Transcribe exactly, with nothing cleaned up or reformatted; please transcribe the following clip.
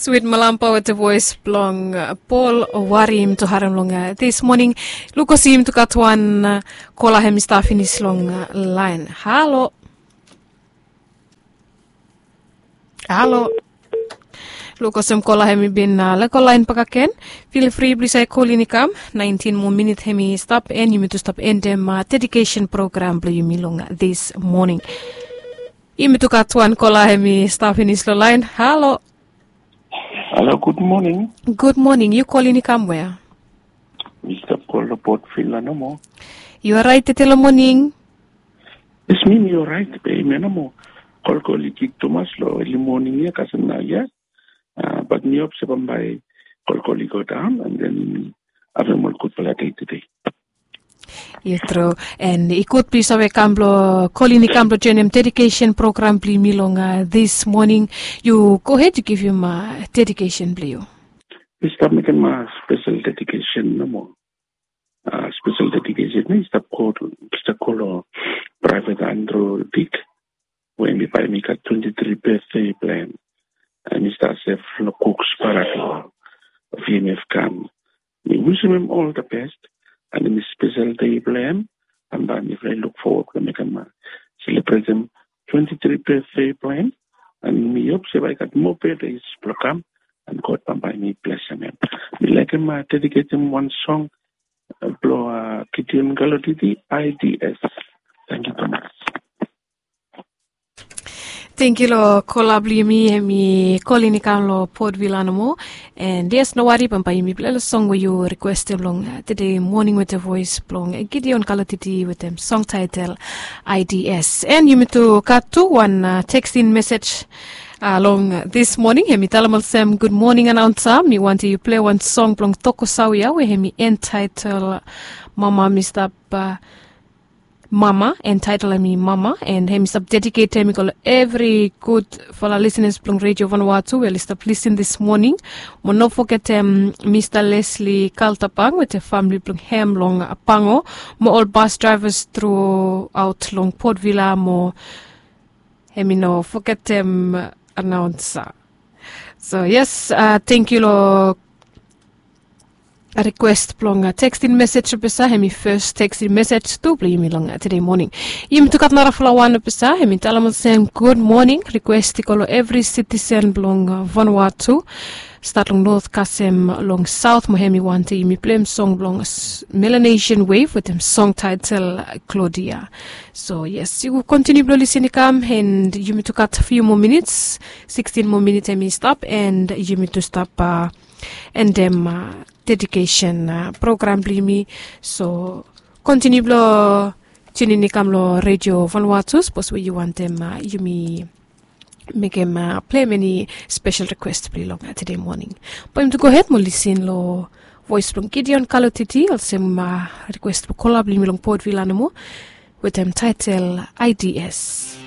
Swit malampa wete voes blong pol wari yumi tu harem long dis moning. Lukosi yumi tu gat wan kola hem i stap finis long laen. Halo. Halo. Lukosi hem kola hem i bin leko laen bakaken. Fil fri blisa i kolin i kam naentin moa minit hem i stap en yumi tu stap endem dedikesen program blong yumi long dis moning. Yumi tu gat wan kola hem i stap finis long laen. Halo. Halo, gud moning. Gud moning. Yu kolin i kam wea? Mi stap kol long potvila nomo. Yu orait tete long moning? Yes, mi mi orait be mi nomo. Kolkol i kik tumas long eli moning ya kasem nau ya. Bat mi hop se bambae kolkol i go daon an den mi avem ol gudfala dei tede. Yu tru. An i gud blong yu save kam blong kolin i kam blong joenem dedikesen program blong yumi long dis moning. Yu gohed yu givim dedikesen blong yu. Mi stap mekem spesel dedikesen nomo. Spesel dedikesen ya i stap go long praevet andro dik we mi bae mi gat twenti tri betde blong hem. Em i stap sef long kuks barak long vmf kam. Mi wisim hem ol the best. An em i spesel dei blong hem. An bae mifala i luk fowod blong mekem selebretem twenti tri betde blong hem. An mi hop se bae i gat moa betdes blong kam. An god bambae mi blesem hem. Mi laekem dediketem wan song blong gideon galotiti ids. Tangkiu tumas. Tangkiu long kola blong yumi hem i kolin i kam long potvila nomo. An yes, no wari bambae yumi pilai long song we yu rikwestem long tede moning wete voes blong gideon galotiti wetem song taetel ids. An yumi tu gat tu wan tekstin mesej long dis moning hem i talem olsem, gud moning anaonsa, mi wantem yu pilai wan song blong tokosau ya we hem i entaetel mama mi stap mama, entaetel hem i mama. An hem i stap dediketem i go long evri gudfala lisinas blong redio vanua tu we oli stap lisin dis moning. Mo no fogetem mista lesli kaltapang wetem famili blong hem long pango, mo ol bas draevas truaot long potvila mo hem i no fogetem anaonsa. So yes, tangkiu long rikwes blong tekstin mesej blong pesa hem i fes tekstin mesej tu blong yumi long tede moning. Yumi tu gat narafala wan blong pesa hem i talem olsem, gud moning, rikwes i go long evri sitisen blong vanua tu, stat long not kasem long saot mo hem i wantem yumi pilem song blong melanesian wef wetem song taetel klodia. So yes, yu kontiniu blong lisin i kam an yumi tu gat fiu moa minits, sikstin moa minits hem i stap an yumi tu stap endem dedikesen program blong yumi. So kontiniu blong tunin i kam long redio vanua tu sapos we yu wantem yumi mekem pilem eni spesel rikwes blong yu long tede moning. Bae yumi tu gohed mo lisin long voes blong gideon kalotiti olsem rikwes blong kola blong yumi long potvila nomo wetem taetel ids.